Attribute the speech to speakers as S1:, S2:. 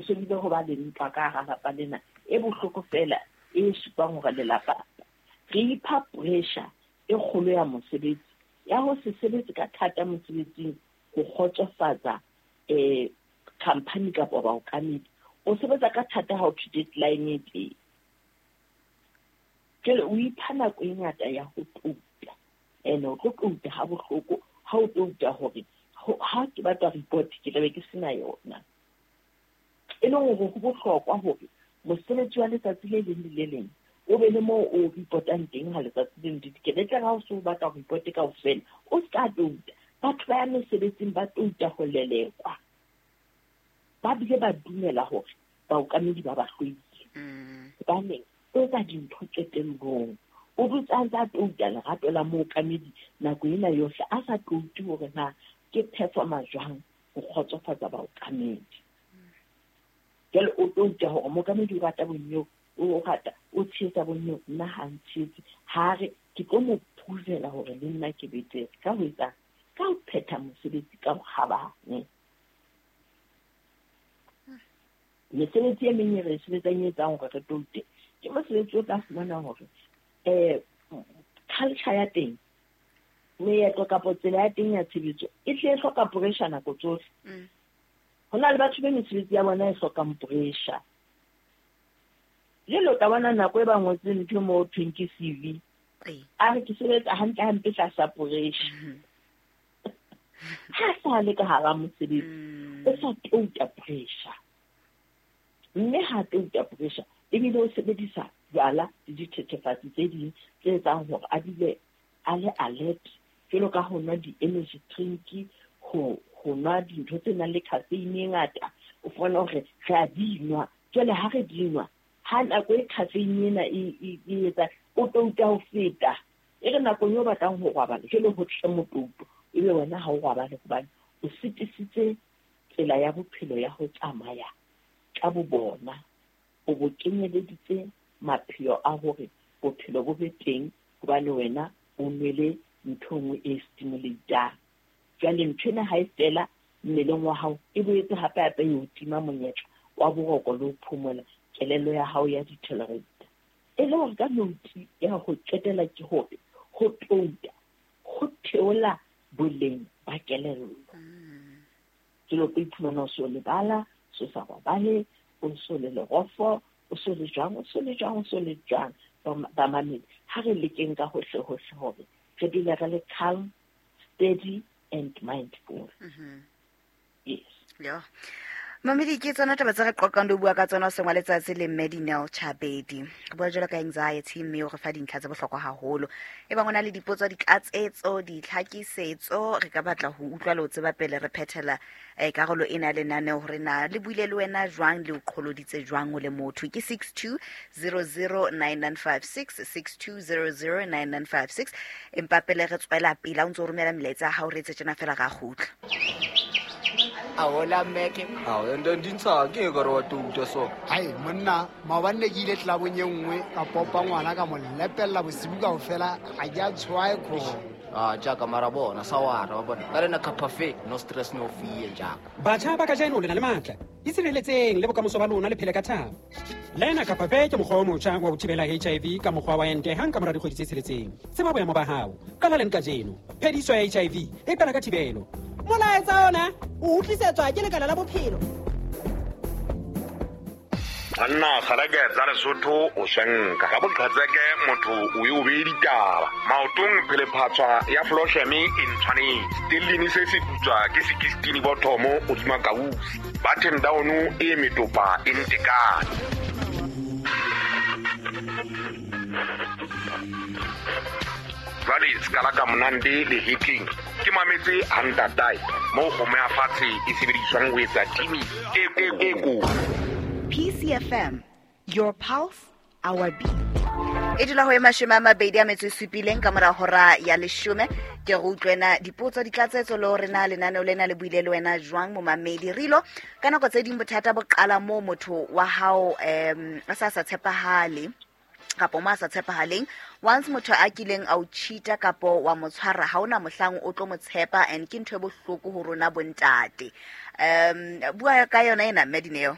S1: Ho se bile ho ba le ntwa ka hara lapa lena e bohloko fela e supang hore lelapa re ipha pressure e kgolo ya mosebetsi, ya ho se sebetse ka thata mosebetsing ho kgotsofatsa company kapa baokamedi. O sebetsa ka thata ha o thwe deadline e teng. Jwale o ipha nako e ngata ya ho touta, ene o tlo touta ha bohloko ha o touta hore ha ke batla report ke tlabe ke sena yona. E leng hore ho bohlokwa hore mosebetsi wa letsatsi le leng le le leng o be le moo o reportang teng ha letsatsi le le dikele. Tle ha o se o batla ho report kaofela, o ska touta. Batho ba ya mesebetsing ba touta ho lelekwa. Ba bile ba dumela hore baokamedi ba ba hloile. Hobaneng o etsa dintho qetellong. O dutse a ntse a touta lerato la mookamedi nako ena yohle, a sa toute hore na ke performa jwang ho kgotsofatsa baokamedi. Jwale o touta hore mookamedi o rata bonyeo, o rata, o tshehetsa bonyeo, nna ha ntshehetse. Ha re ke tlo mo provela hore le nna ke betere ka ho etsang, ka ho phetha mosebetsi ka bokgabane. Mesebetsi e meng e re sebetsang e etsang hore re toute ke mosebetsi o tla fumana hore culture ya teng, meetlo kapa tsela ya teng ya tshebetso e tle e hloka pressure nako tsohle. Ho na le batho be mesebetsi ya bona e hlokang pressure. Jwale o tla bona nako e ba ngotseng ntho moo thweng ke CV, a re ke sebetsa hantle hampe tlasa pressure. Ha sa le ka hara mosebetsi, o sa touta pressure. Mme ha touta pressure, ebile o sebedisa jwala le dithethefatsi tse ding tse etsang hore a dule a le alert, jwalo ka ho nwa di-energy drink, ho nwa dintho tse nang le caffeine e ngata. O fumana hore re a di nwa. Jwale ha re di nwa, ha nako e caffeine ena e etsa, o touta ho feta. E re nakong eo batlang ho robala, jwale ho tle motouto, ebe wena ha o robale hobane o sitisitse tsela ya bophelo ya ho tsamaya ka bo bona. O bo kenyeleditse mapheo a hore bophelo bo be teng hobane wena o nwele ntho nngwe e stimulatang. Jwale ntho ena ha e fela mmeleng wa hao, e boetse hape hape e o tima monyetla wa boroko le ho phomola, kelello ya hao ya deteriorate. E le hore ka note ya ho qetela ke hore ho touta ho theola boleng ba kelello. Jwale o tlo iphumana o so lebala, so sa robale, o so le lerofo, o so le jwang, o so le jwang, o so le jwang. Bamamedi, ha re lekeng ka hohle hohle hore re dule re le calm, steady and mindful. Yes.
S2: Yo. Mamedi, ke tsona taba tse re qoqang le ho bua ka tsona hoseng wa letsatsi le Mme Dineo Chabedi. Re bua jwalo ka anxiety, mme o re fa dintlha tse bohlokwa haholo. E bang o na le dipotso, ditlatsetso, ditlhakisetso, re ka batla ho utlwa le ho tseba pele re phethela karolo ena ya lenaneo hore na le buile le wena jwang, le o qholoditse jwang o le motho. Ke 62009956, 62009956. Empa pele re tswela pele, ha o ntso romela melaetsa ya hao, re etse tjena fela ra kgutla.
S3: Ahola Mmeke.
S4: Ao, ende ndi ntsha ke ka re wa touta so.
S5: Hai, monna, maobane ne ke ile tlelabong e nngwe ka popa ngwana ka mo lepella bosibu kaofela, ha ke a tshwae kgomo.
S3: Ah, jaaka mara bona, sa wara, wa bona. Ka lena kapha fe, no stress, no fear, jaaka.
S6: Batjha ba kajeno le na le matla. Itshireletseng le bokamoso ba lona le phele ka thabo. Lena kapha fe ke mokgwa o motjha wa ho thibela HIV ka mokgwa wa ente hang ka mora dikgwedi tse tsheletseng. Tseba boemo ba hao. Qala leng kajeno. Phediso ya HIV e qala ka thibelo.
S7: Molaetsa ona o utlwisetswa ke Lekala la Bophelo.
S8: Banna kgalake tsa Lesotho o swenka. Ka boqhetseke motho o e o behe ditaba. Maotong phelephatswa ya Flosheme e ntshwanetse. Stellini se se putswa ke sekistini bothomo hodima kausi. Button down e metopa e ntekane. Jwale sekala ka monande le hetleng ke mametse ha ntatae moo kgomo ya fatshe e sebediswang ho etsa timi e kotsi.
S2: PCFM, your pulse, our beat. E dula ho e 27 ka mora hora ya 10. Ke re utlwena dipotso, ditlatsetso le hore na lenaneo lena le buile le wena jwang momamedi. Rilo, ka nako tse ding bothata bo qala moo motho wa hao a sa tshepahale kapo mo a sa tshepahaleng. Once motho a kileng a o cheata kapo wa mo tshwara, ha ona mohlang o tlo mo tshepa, and ke ntho e bohloko ho rona bontate. Bua ka yona ena Mme Dineo.